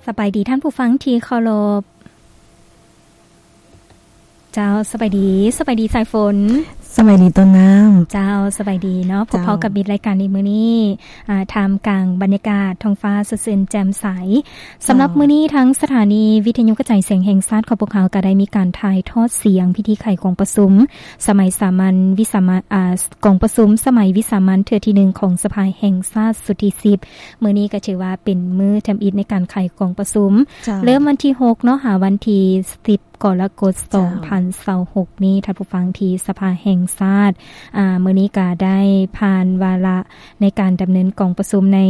ສະບາຍດີທ່ານຜູ້ຟັງທີ່ເຄົາລົບ. ເຈົ້າ ສະບາຍດີ, ສະບາຍດີສາຍຝົນ. ສະບາຍດີຕົ້ນນ້ຳ. ເຈົ້າ ສະບາຍດີເນາະ, ພົບພໍ້ ເຈົ້າ ກັບມິດລາຍການໃນມື້ນີ້ ອາ ທ່າມກາງບັນຍາກາດທ້ອງຟ້າສົດຊື່ນແຈ່ມໃສ. ເຈົ້າ ສຳລັບມື້ນີ້ ທາງສະຖານີວິທະຍຸກະຈາຍສຽງແຫ່ງຊາດຂອງພວກເຮົາ ກໍໄດ້ມີການຖ່າຍທອດສຽງພິທີໄຂກອງປະຊຸມສະໄໝສາມັນວິສາມະ ອາ ກອງປະຊຸມສະໄໝວິສາມັນເທື່ອທີໜຶ່ງຂອງສະພາແຫ່ງຊາດຊຸດທີສິບ. ມື້ນີ້ກໍຖືວ່າເປັນມື້ທຳອິດໃນການໄຂກອງປະຊຸມ ເຈົ້າ ເລີ່ມວັນທີຫົກເນາະ ຫາວັນທີສິບກໍລະກົດ ເຈົ້າ ສອງພັນຊາວຫົກນີ້ ທ່ານຜູ້ຟັງທີ່ສະພາແຫ່ງຊາດ ອາ ມື້ນີ້ກໍໄດ້ຜ່ານວາລະໃນການດຳເນີນກອງປະຊຸມໃນ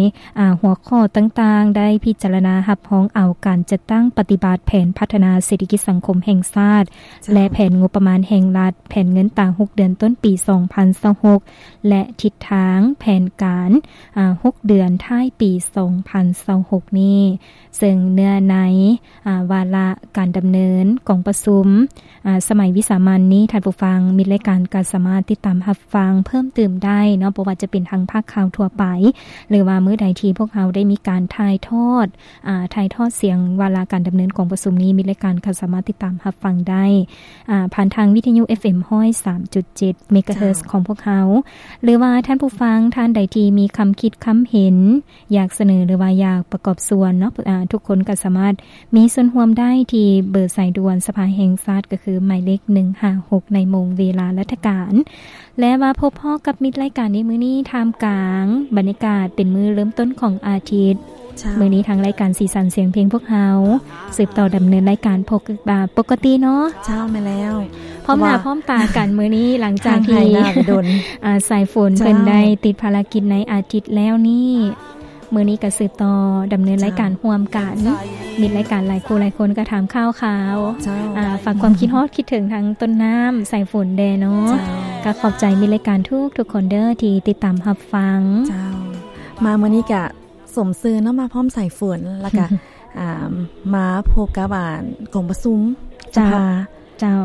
ອາ ຫົວຂໍ້ຕ່າງໆ ໄດ້ພິຈາລະນາຮັບຮອງເອົາການຈັດຕັ້ງປະຕິບັດແຜນພັດທະນາເສດຖະກິດສັງຄົມແຫ່ງຊາດ ເຈົ້າ ແລະ ແຜນງົບປະມານແຫ່ງລັດ ແຜນເງິນຕາຫົກເດືອນຕົ້ນປີສອງພັນຊາວຫົກ ແລະ ທິດທາງແຜນການ ອາ ຫົກເດືອນທ້າຍປີສອງພັນຊາວຫົກນີ້ ເຊິ່ງເນື້ອໃນ ອາ ວາລະການດຳເນີນກອງປະຊຸມ ອາ ສະໄໝວິສາມັນນີ້ ທ່ານຜູ້ຟັງ ມິດລາຍການກໍສາມາດຕິດຕາມຮັບຟັງເພີ່ມຕື່ມໄດ້ເນາະ, ບໍ່ວ່າຈະເປັນທາງພາກຂ່າວທົ່ວໄປ ຫຼືວ່າມື້ໃດທີ່ພວກເຮົາໄດ້ມີການຖ່າຍທອດ ອາ ຖ່າຍທອດສຽງວາລະການດຳເນີນກອງປະຊຸມນີ້ ມິດລາຍການກໍສາມາດຕິດຕາມຮັບຟັງໄດ້ ອາ ຜ່ານທາງວິທະຍຸ ເອັຟເອັມ ຮ້ອຍສາມຈຸດເຈັດ ເມກາເຮີດ ເຈົ້າ ຂອງພວກເຮົາ ຫຼືວ່າທ່ານຜູ້ຟັງທ່ານໃດທີ່ມີຄຳຄິດຄຳເຫັນ ຢາກສະເໜີ ຫຼືວ່າຢາກປະກອບສ່ວນເນາະ ອາ ທຸກຄົນກໍສາມາດມີສ່ວນຮ່ວມໄດ້ທີ່ເບີສາຍດ່ວນສະພາແຫ່ງຊາດ ກໍຄືໝາຍເລກໜຶ່ງຫ້າຫົກ ໃນໂມງເວລາລັດຖະການ. ແລະ ມາພົບພໍ້ກັບມິດລາຍການໃນມື້ນີ້ ທ່າມກາງບັນຍາກາດເປັນມື້ເລີ່ມຕົ້ນຂອງອາທິດ. ເຈົ້າ ມື້ນີ້ທາງລາຍການສີສັນສຽງເພງພວກເຮົາ ເຈົ້າ ສືບຕໍ່ດຳເນີນລາຍການປົກ ອາ ປົກກະຕິເນາະ. ເຈົ້າ ແມ່ນແລ້ວ. ພ້ອມໜ້າ ເພາະວ່າ ພ້ອມຕາກັນມື້ນີ້ ຫຼັງຈາກທີ່ ຫ່າງຫາຍໜ້າໄປດົນ ອາ ສາຍຝົນ ເຈົ້າ ເພິ່ນໄດ້ຕິດພາລະກິດໃນອາທິດແລ້ວນີ້ ມື້ນີ້ກໍສືບຕໍ່ດຳເນີນລາຍການ ເຈົ້າ ຮ່ວມກັນ. ມິດລາຍການຫຼາຍຄູ່ຫຼາຍຄົນກໍຖາມຂ່າວຄາວ ເຈົ້າ ອາ ຝາກຄວາມຄິດຮອດຄິດເຖິງທາງຕົ້ນນ້ຳ ສາຍຝົນແດ່ເນາະ. ເຈົ້າ ກໍຂອບໃຈມິດລາຍການທຸກໆຄົນເດີທີ່ຕິດຕາມຮັບຟັງ. ເຈົ້າ ມາມື້ນີ້ກະສົມຊື່ເນາະ ມາພ້ອມສາຍຝົນ ແລ້ວກະ ອາ ມາພົບກັບ ອາ ກອງປະຊຸມ ເຈົ້າ ສະພາ ເຈົ້າ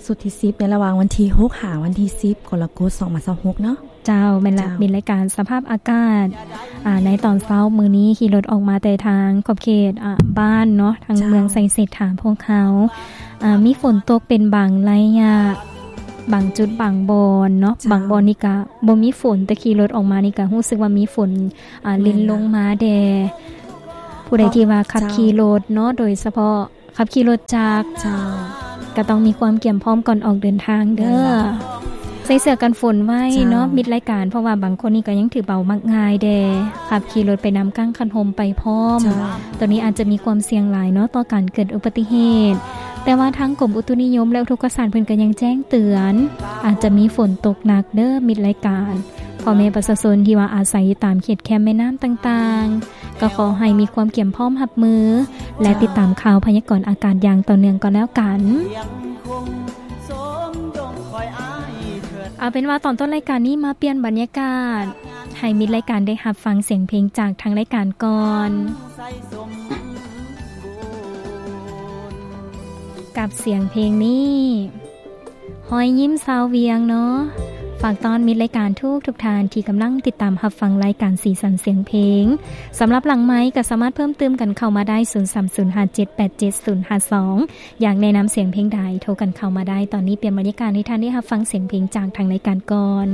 ຊຸດທີສິບ ໃນລະຫວ່າງວັນທີຫົກຫາວັນທີສິບ ກໍລະກົດ ສອງພັນຊາວຫົກເນາະ. ເຈົ້າ ແມ່ນລະ. ເຈົ້າ ມີລາຍການສະພາບອາກາດ ອາ ໃນຕອນເຊົ້າມື້ນີ້ ຂີ່ລົດອອກມາແຕ່ທາງຂອບເຂດ ອາ ບ້ານເນາະ ທາງ ເຈົ້າ ເມືອງໄຊເສດຖາ ພວກເຮົາ ອາ ມີຝົນຕົກເປັນບາງໄລຍະ ບາງຈຸດບາງບ່ອນເນາະ. ເຈົ້າ ບາງບ່ອນນີ້ກະບໍ່ມີຝົນ ແຕ່ຂີ່ລົດອອກມານີ້ກະຮູ້ສຶກວ່າມີຝົນ ອາ ລິນລົງມາແດ່. ແມ່ນລະ. ຜູ້ໃດທີ່ວ່າຂັບ ເຈົ້າ ຂີ່ລົດເນາະ ໂດຍສະເພາະ ຂັບຂີ່ລົດຈັກ ເຈົ້າ ກໍຕ້ອງມີຄວາມກຽມພ້ອມກ່ອນອອກເດີນທາງເດີ. ແມ່ນລະ. ໃສ່ເສື້ອກັນຝົນໄວ້ເນາະ ເຈົ້າ ມິດລາຍການ ເພາະວ່າບາງຄົນນີ້ກໍຍັງຖືເບົາມັກງ່າຍແດ່ ຂັບຂີ່ລົດໄປນຳກ້າງຄັນຮົ່ມໄປພ້ອມ. ເຈົ້າ ໂຕນີ້ອາດຈະມີຄວາມສ່ຽງຫຼາຍເນາະ ຕໍ່ການເກີດອຸບັດຕິເຫດ, ແຕ່ວ່າທາງກົມອຸຕຸນິຍົມ ແລະ ອຸທົກກະສາດ ເພິ່ນກໍຍັງແຈ້ງເຕືອນ ອາດຈະມີຝົນຕົກໜັກເດີ ມິດລາຍການ. ພໍ່ແມ່ປະຊາຊົນທີ່ວ່າອາໄສຢູ່ຕາມເຂດແຄມແມ່ນ້ຳຕ່າງໆ ກໍຂໍໃຫ້ມີຄວາມກຽມພ້ອມຮັບມື ແລະ ເຈົ້າ ຕິດຕາມຂ່າວພະຍາກອນອາກາດຢ່າງຕໍ່ເນື່ອງກໍແລ້ວກັນ. ເອົາເປັນວ່າຕອນຕົ້ນລາຍການນີ້ມາປ່ຽນບັນຍາກາດ ໃຫ້ມິດລາຍການໄດ້ຮັບຟັງສຽງເພງຈາກທາງລາຍການກ່ອນ ກັບສຽງເພງນີ້ ຮອຍຍິ້ມຊາວວຽງເນາະ. ຝາກຕ້ອນມິດລາຍການທຸກໆທ່ານທີ່ກຳລັງຕິດຕາມຮັບຟັງລາຍການສີສັນສຽງເພງ. ສຳລັບຫຼັງໄມກໍສາມາດເພີ່ມຕື່ມກັນເຂົ້າມາໄດ້ ສູນສາມສູນຫ້າເຈັດແປດເຈັດສູນຫ້າສອງ. ຢາກແນະນຳສຽງເພງໃດ ໂທກັນເຂົ້າມາໄດ້. ຕອນນີ້ປ່ຽນບັນຍາກາດໃຫ້ທ່ານໄດ້ຮັບຟັງສຽງເພງຈາກທາງລາຍການກ່ອນ.